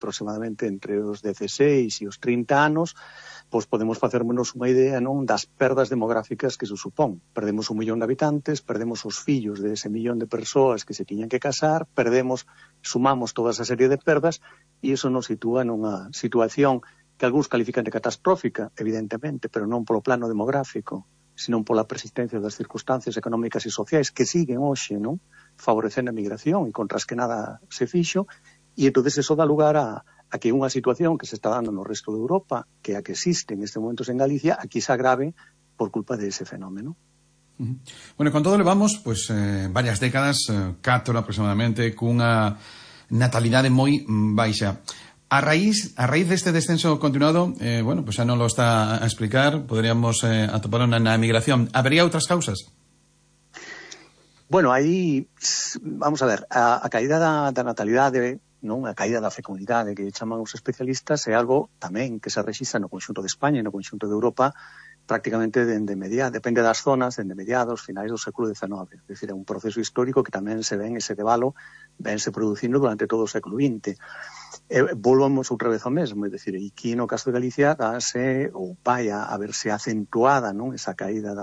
aproximadamente entre os 16 e os 30 anos, pois podemos facernos unha idea, non, das perdas demográficas que se supón. Perdemos 1 millón de habitantes, perdemos os fillos de ese millón de persoas que se tiñan que casar, sumamos toda esa serie de perdas e iso nos sitúa nunha situación que algúns califican de catastrófica, evidentemente, pero non polo plano demográfico, senón pola persistencia das circunstancias económicas e sociais que siguen hoxe, non, favorecendo a migración e contra as que nada se fixo, e entón eso dá lugar a que unha situación que se está dando no resto de Europa, que a que existe en este momento en Galicia, aquí se agrave por culpa de ese fenómeno. Bueno, con todo levamos, pues, varias décadas, 4 aproximadamente, cunha natalidade moi baixa. A raíz deste descenso continuado, bueno, pues xa non lo está a explicar, poderíamos atopar na migración. Habería outras causas? Bueno, aí, vamos a ver, a caída da natalidade, non, a caída da fecundidade que chaman os especialistas é algo tamén que se rexistra no conxunto de España e no conxunto de Europa prácticamente depende das zonas, dende mediados, finais do século XIX. É dicir, é un proceso histórico que tamén se ven ese debalo, vense producindo durante todo o século XX. Volvamos outra vez ao mesmo, é dicir, aquí no caso de Galicia dáse, ou vai a verse acentuada, non, esa caída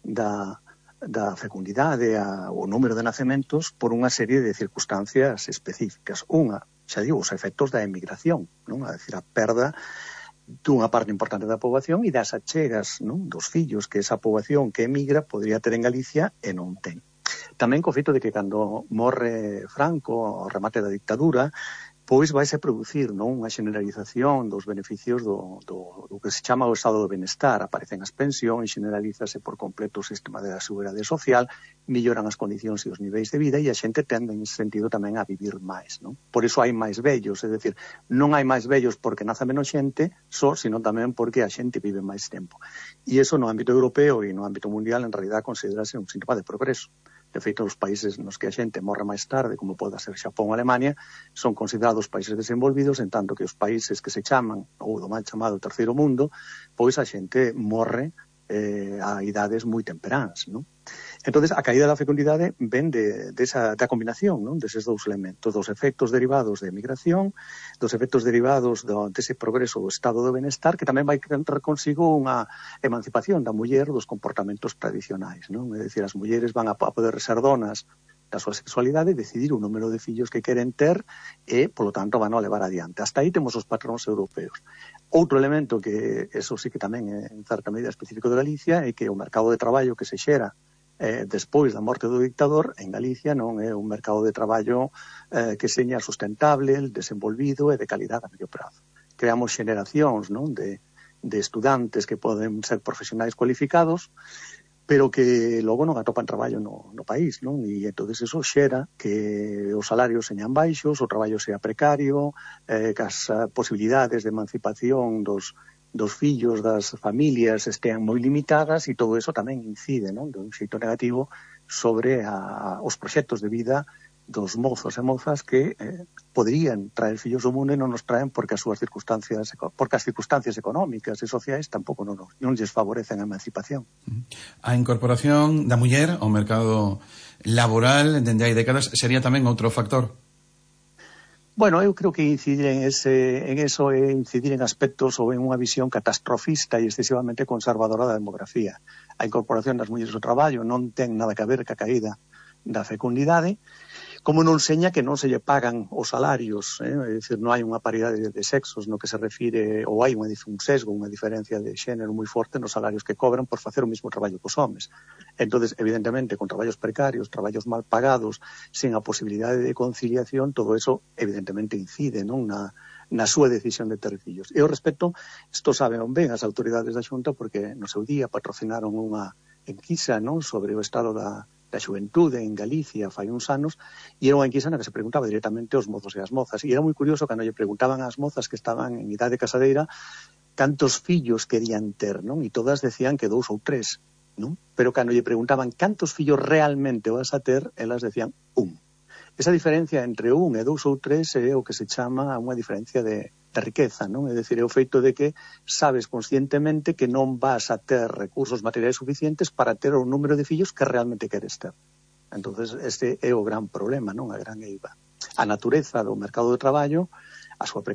da fecundidade, o número de nacementos por unha serie de circunstancias específicas. Unha, xa digo, os efectos da emigración, non? A decir, a perda dunha parte importante da poboación e das achegas, non, dos fillos que esa poboación que emigra podría ter en Galicia e non ten. Tamén co feito de que cando morre Franco, ao remate da dictadura, pois vaise producir, non, unha generalización dos beneficios do que se chama o estado do benestar. Aparecen as pensións, generalízase por completo o sistema de seguridade social, melloran as condicións e os niveis de vida e a xente tende en ese sentido tamén a vivir máis, non? Por iso hai máis vellos, é dicir, non hai máis vellos porque naza menos xente, sino tamén porque a xente vive máis tempo. E iso no ámbito europeo e no ámbito mundial en realidad considerase un síntoma de progreso. De feito, os países nos que a xente morre máis tarde, como pode ser Xapón ou Alemania, son considerados países desenvolvidos, en tanto que os países que se chaman, ou do mal chamado terceiro mundo, pois a xente morre a idades moi temperáns, non? Entonces, a caída da fecundidade ven da combinación, non, deses dous elementos, dos efectos derivados de emigración, dos efectos derivados dese progreso do estado do benestar, que tamén vai ter consigo unha emancipación da muller dos comportamentos tradicionais, non? É dicir, as mulleres van a poder ser donas da súa sexualidade e decidir o número de fillos que queren ter e, polo tanto, van a levar adiante. Hasta aí temos os patróns europeos. Outro elemento que, eso sí que tamén é en certa medida específico de Galicia, é que o mercado de traballo que se xera despois da morte do dictador en Galicia non é un mercado de traballo que seña sustentable, desenvolvido e de calidade a medio prazo. Creamos xeneracións, non, de estudantes que poden ser profesionais cualificados, pero que logo non atopan traballo no país, non? E entón eso xera que os salarios señan baixos, o traballo sea precario, que as posibilidades de emancipación dos fillos, das familias estean moi limitadas e todo eso tamén incide, non, de un xeito negativo sobre os proxectos de vida dos mozos e mozas que poderían traer fillos ao mundo e non nos traen porque as circunstancias económicas e sociais tampouco non lles favorecen a emancipación. A incorporación da muller ao mercado laboral dende hai décadas sería tamén outro factor? Bueno, eu creo que incidir en eso é incidir en aspectos ou en unha visión catastrofista e excesivamente conservadora da demografía. A incorporación das mulleres ao traballo non ten nada que ver ca caída da fecundidade, como non seña que non se lle pagan os salarios, é dicir, non hai unha paridade de sexos no que se refire, ou hai un sesgo, unha diferencia de xénero moi forte nos salarios que cobran por facer o mesmo traballo que os homes. Entonces, evidentemente, con traballos precarios, traballos mal pagados, sen a posibilidade de conciliación, todo eso evidentemente incide, non, na súa decisión de ter fillos. E ao respecto, isto saben ben as autoridades da Xunta porque no seu día patrocinaron unha enquisa, non, sobre o estado da xuventude en Galicia fai uns anos, e era unha enquisa na que se preguntaba directamente aos mozos e as mozas, e era moi curioso cando lle preguntaban ás mozas que estaban en idade casadeira cantos fillos querían ter, non? E todas decían que 2 ou 3, non? Pero cando lle preguntaban cantos fillos realmente vas a ter, elas decían 1. Esa diferencia entre 1 e 2 ou 3 é o que se chama unha diferencia de riqueza, non? É dicir, é o feito de que sabes conscientemente que non vas a ter recursos materiais suficientes para ter o número de fillos que realmente queres ter. Entonces, este é o gran problema, non? A gran eiva. A natureza do mercado de traballo, a súa